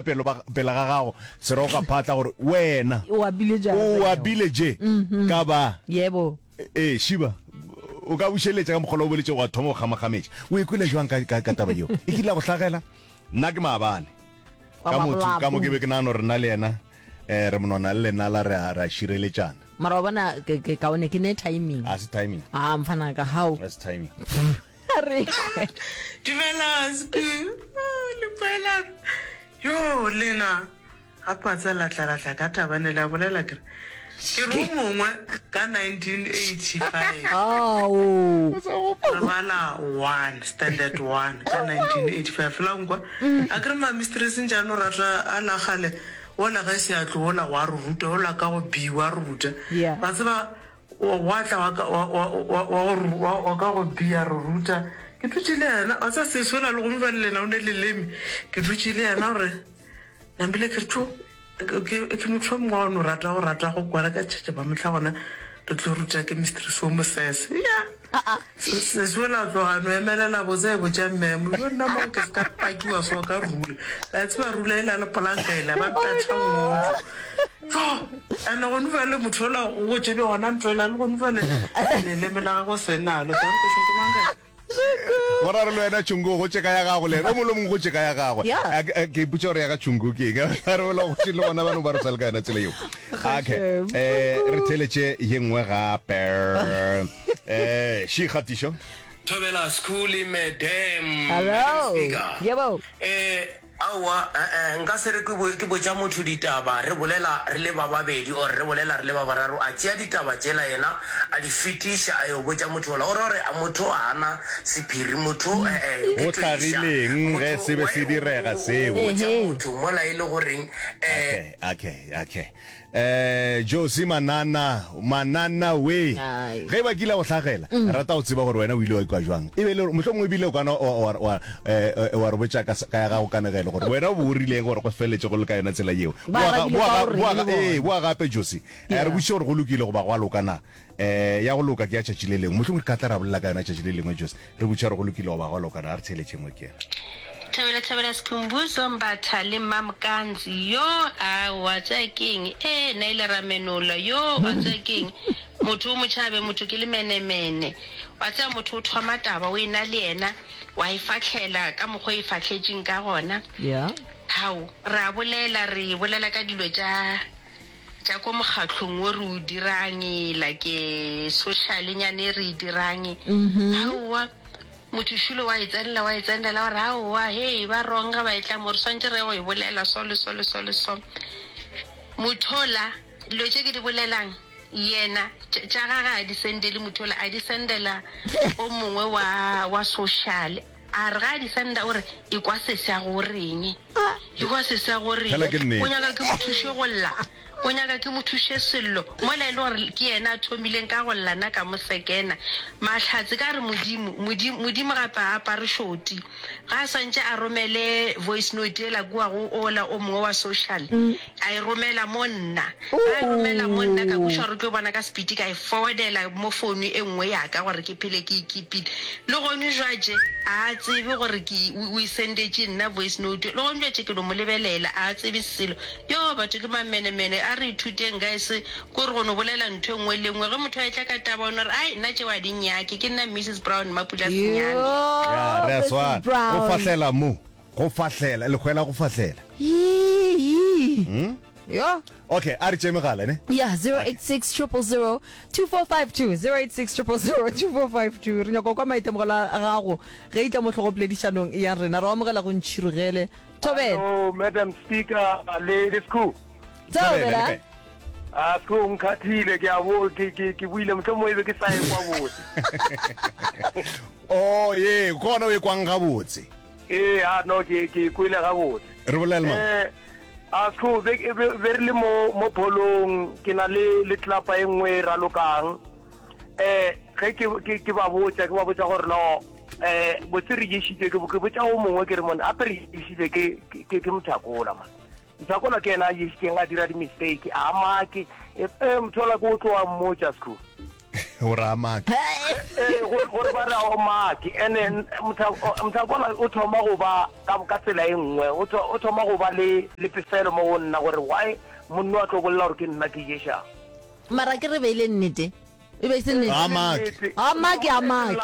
pele ba pele ga gago seroga phatla gore wena O abile jang o abile je ka ba Yebo. Ee, Shiba, o ka bušeletša ka mokgwa o boletše wa thoma go kgamakgametša. O ikwele jwang ka, ka, ka taba yeo? E kile ya go hlagela? Nna ke maabane. Ka motho, ka mo ke be ke nagana gore nna le yena eh, re monwana le lenala re a, re a šireletšana. Mara wa bona ke, ke kaone ke ne timing. A se timing. Ah, mfana ka how. A se timing. Re. Dumela Sbu. Oh, le boelang. Yo lena Gape wa tseba la tla la tla ka taba ne la bolela ke re ke re o mongwe ka 1985 Ao. re bala one standard one ka 1985 la nkwa a ke re ma mistress ntše a no rata a la kgale wola ge se a tlo wola wa re ruta wola ka go B wa re ruta Yeah. wa tseba wa wa tla wa ka wa wa wa wa go ru- wa wa ka go B a re ruta ke dutše le yena wa tseba sesi ola le gomme bjale le yena o ne leleme ke dutše le yena gore Nambile ke re tšo ke motho o mongwe wa no rata go rata go kwala ka tšhetše ba mohla gona re tlo ruta ke mistress o mosese ya sesi ola tloga no emelela botse e botša mmemo yo nna mo ke se ka pakiwa so ka rula la tseba rula e la le polanka ela ba mpetha ngojo tšo ene gone bjale motho ola o go tšebe gona ntho ela le gone bjale leleme la gago senalo danko ke mang Go ra re le wena Chungu go tšeka ya gago le yena o mongwe le mongwe go tšeka ya gagwe. Yeah. A ke ke ipotša gore ya ga Chungu ke eng. A re ola go le gona ba no ba re sa le ka yona tsela yeo. Okay. Eh re theletše ye nngwe gape. Eh shi kgatišo. Thobela Skhuli Madam. Hello. Madam Speaker. Yebo. Eh Aowa, eh-eh, nka se re ke, ke botša motho ditaba, re bolela re le ba babedi or re bolela re le ba bararo, a tšea ditaba tšela yena a di fetiša a yo botša motho yola, o ra gore motho ga a na sephiri, motho eh-eh, Go ke toiša, hlagileng ge motho se be why se o, o, direga o, o seo? botša Ehe. motho mola e le goreng eh, Okay, okay, okay. Eh, Josie Manana, Manana we. Ai. Ge e ba kile go hlagela, re rata go tseba gore wena o ile wa ikwa jwang. E be le gore mohlomongwe ebile o kana wa, wa, wa, eh, eh, wa re botša ka, ka ya gago kanegelo gore wena o bo o rileng gore go feleletše go le ka yona tsela yeo. Ba Boa, ga- arabile boa, ka ga- gore boa, le ga- ee, bona. boa gape Josie. Eh, re Yeah. botšiše gore go lokile goba gwa loka na. Eh, ya go loka ke ya tšatši le lengwe. Mohlomongwe re ka tla ra bolela ka yona tšatši le lengwe Josie. Re botšiša gore go lokile goba gwa loka na. A re theeletše engwe ke yena. Thobela thobela Skhumbuzo Mbatha le Mamkanzi yo aowa tseba ke eng ee nna ile ra menola yo wa tseba ke eng motho o motšhabe motho ke lemenemene wa tseba motho o thoma taba o ena le yena wa e fahlela ka mokgwa o e fahletšeng ka gona Yeah. hao re a bolela re bolela ka dilo tša tša ko mokgahlong wo re o dirang like social nyane e re e dirang aowa Motho šule wa e tsenela, wa e tsenela, wa re, Aowa, hei, ba wrong ge ba etla mo, re swantše re ye go e bolela so le so le so le so. Mothola, dilo tše ke di bolelang, yena, tša, tša gage a di sendele mothola, a di sendela o mongwe wa, wa social. A re ge a di senda, o re, Ekwa sesi a go reng? Ekwa sesi a go reng? Fela ke nnete. O nyaka ke mo thuše go lla? O nyaka ke mo thuše sello mola e le gore ke yena a thomileng ka go lla nna ka mo sekena. Mahlatse ka re Modimo, Modimo, Modimo gape ga a apare šoti. Ga a swantše a romele voice note yela kua go ola o mongwe wa social, a e romela mo nna. Ga a e romela mo nna ka kweša gore o tlo bona ka sepiti ka e forwardela mo phone e nngwe ya ka gore ke phele ke e keepile. Le gone jwatše ga a tsebe gore ke o e sendetše nna voice note. Le gone jwatše ke no mo lebelela ga a tsebe selo. Yoo batho ke mamenemene, a re ithuteng guys, kore go no bolela ntho e nngwe le nngwe, ge motho a etla ka taba o no re ai nna tšeo a di nnyake, ke nna Missus Brown Mapula Senyane. Ya, re a Mrs. swana. Go Brown. fahlela mo. Go fahlela, lehwela go fahlela. Yee. Yo. Okay, a re tšee megala, ne? Yeah, 086 000 2452 086 000 2452 re nyaka go kwa maitemogelo a gago ge e tla mo hlogopoledišanong ya rena re o amogela go ntšhirogele Thobela. Hello, Madam Speaker le le Skhoo. Thobela. le kae? Ah, Skhoo o nkhathile ke a bo ke ke ke buile mohlomongwe e be ke sa e kwa botse. Oh, ye, ke gona o e kwang gabotse. Ee, ah no ke ke e kwele gabotse. Re bolele mang? Eh, ah Skhoo be be be re le mo mo pholong ke na le le tlapa e nngwe e ralokang. Eh, ge ke ke ke ba botša ke ba botša gore no eh botse re ješitše ke ke botša o mongwe ke re mone ape re ješitše ke ke ke mothakola man mothakola ke yena a ješitšeng a dira di-mistake a make e eh, mothola ke o tlo wa mmotša sekhu. Gore a make. Ee, gore gore ba re a o make. Ene Mothakola o thoma go ba ka ka tsela e nngwe, o tho o thoma go ba le le pefelo mo go nna gore why monno a tlo bolela gore ke nna ke ješang. Mara ke re beile nnete. E be e se nnete. A make. A make, a make.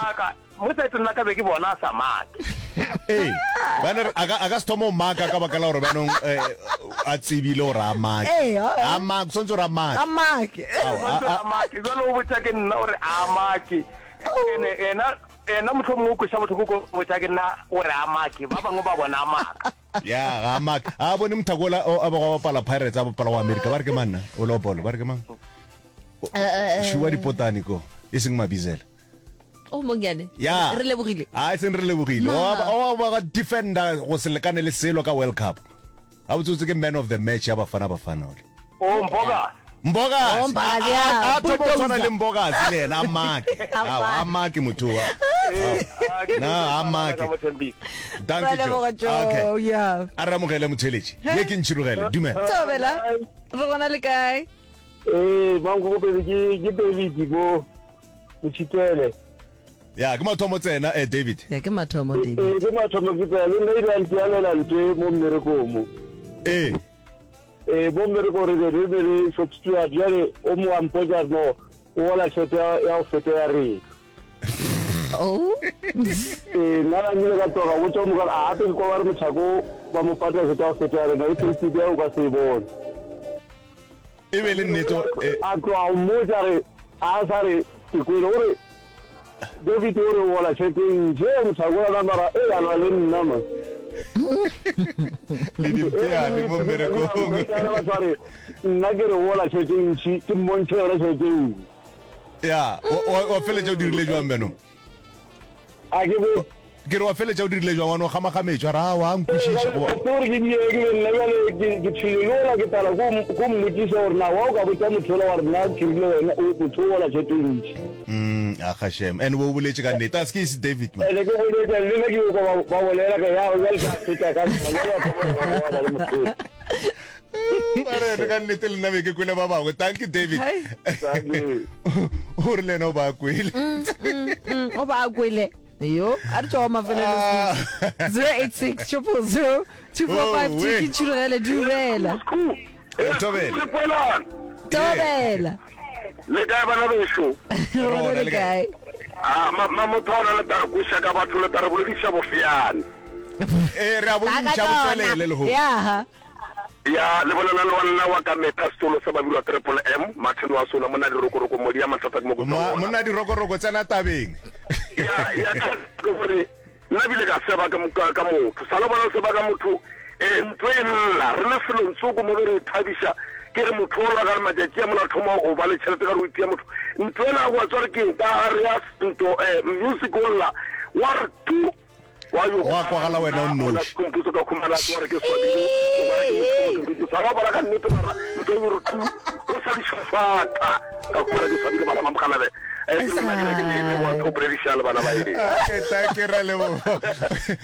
Mo saeteng la ka be ke bona a sa make. Ee, bjale re- a ka a ka se thoma go maka ka baka la gore bjanong eh, a tsebile gore a make. Ee, a- A make, swantse gore a make. A make. Ao, a- Swantse a- a make jalo o botša ke nna gore a make ene ena ena mohlomongwe o kweša bohloko ko botša ke nna gore a make ba bangwe ba bona a maka Ya, ga a make. A bone Mothakola o a bego a bapala Pirates a bapala go America. Ba re ke mang na? O le wa bolo, ba re ke mang? Šuwa dipotane ko, e seng Mabizela. O mongyane. Ya. Re lebogile. A e seng re lebogile. O ba ga defender go se lekane le selo ka World Cup. A botsotse ke man of the match ya Bafana Bafana ole. O Mbokazi. Mbokazi. O Mbokazi, ya. A thoma go tshwana le Mbokazi le yena a make. A make motho wa. Na a make. Dankie Joe. Joe. Okay. Yeah. A re amogele motheletši. Ye ke ntšhirogele. Dumela. Thobela. Re gona le kae? Ee, mankoko pele ke ke David mo Motšhitele. Ya, ke mathomo tsena eh David. Ya ke mathomo David. Ee, ke mathomo ke tsena le nna ile a ntialela ntwe mo mmerekong mo. Ee. Ee, mo mmerekong re be re be le shop steward bjale o mo a mpotša no o gola tšhelete ya ya go feta ya rena. Oh. Ee, nna la nkile ka tloga botša o mo ka a gape ke kwa ba re mothako ba mo patela tšhelete ya go feta ya rena e payslip ya o ka se e bone. E be le nnete eh. A tloga go mmotša re a sa re ke kwele o re David o re o gola tšhelete e ntši e mothakola na mara e a lwa le nna man. Le dimpeane mo mmerekong. Batho ba re nna ke re o gola tšhelete e ntši ke mmontšhe yona tšhelete eo. Ya, wa feletša o dirile jwang bjanong? A ke bo Ke re wa feletša o dirile jwang wa no gamagametšwa ra wa nkwešiša goba. Ke gore ke die ke le nna bjale ke ke thwile le ola ke tala ko ko mmotšiša gore na wa o ka botša motho ola wa re nna ke rile wena o motho o gola tšhelete e ntši. Mm, a ga shem. And o boletše ka nnete. A se ke se David man. Ene ke boletše le nna ke yo kwa ba ba bolela ka ya bjale ka feta ka nna bjale ba thoma go bona le motho. Ba re ene ka nnete le nna be ke kwele ba bangwe. Thank you David. Thank you. O re le yena o ba kwele. O ba kwele. Yo, a re tšwa wa mafelelo Ah. 086 000 2452 Oh, we. ke tšhurugele dumela. Thobela. Tobela. Le kae bana bešo? Re gona le kae? Ah, ma ma motho ona le tla re kweša ka batho le tla re bolediša bofeane. Eh, re a bodiša botswelele lehono. Ya. Ya, le bolela le wa nna wa ka metha setolo sa Babirwa Triple M, Martin wa Sona, monna dirokoroko, modi ya mathata ke mo go Ma, monna dirokoroko tsena tabeng. Ya, ya ka ke gore nna bile ka seba ka ka, ka motho. Sa le bona seba ka motho eh ntlo e lla re le selong tsoko mo be re ithabiša ke re motho o la ka matšatši a mola thoma go ba le tšhelete ka re o itia motho ntlo ela wa tswa re ke ka re ya nto eh music o lla wa re tu Wa yo Gwa kwagala wena o nnoši. Sekompuso ka khumana wa re ke swabile o bona ke motho motho sa ba ka nnete mara ntho e re tu o sa di fata ka khumana ke swabile bana ba mogalabe eh ke nna ke ke le wa go bolediša le bana ba ene Okay, thank you, Ralebogo.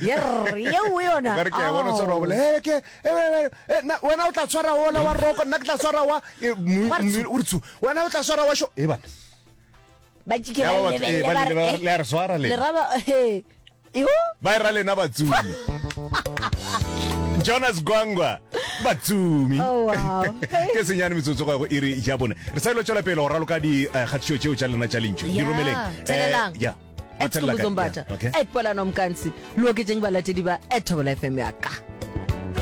Yerr, yeo yona. Ka re ke a bona o tshwara wa bolela, "Eh, ke, eh, eh, eh, nna- wena o tla tshwara wola wa roko nna ke tla tshwara wa eh, mu- mu- o re tshu wena o tla swara wa sho e bana Ba tšike Ya ba ba batho, eh, lebelele ba ba le re, ba- eh, le a re swara le lena. ra ba, eh, yo. Ba e ra lena batsumi. Jonas Gwangwa batsumi. Oh, wow. Ke senyane metsotso go ya go iri ya bone. Re sa ilo tšwela pele go raloka dikgatišo tšeo tša lena tša lentšu. Di Ya, romeleng. Eh, thelelang. ya. Ba At thelela kae? Skhumbuzo Mbatha, Ya, okay. at Polano Mkansi, le oketšeng balatedi ba at Thobela FM ya ka.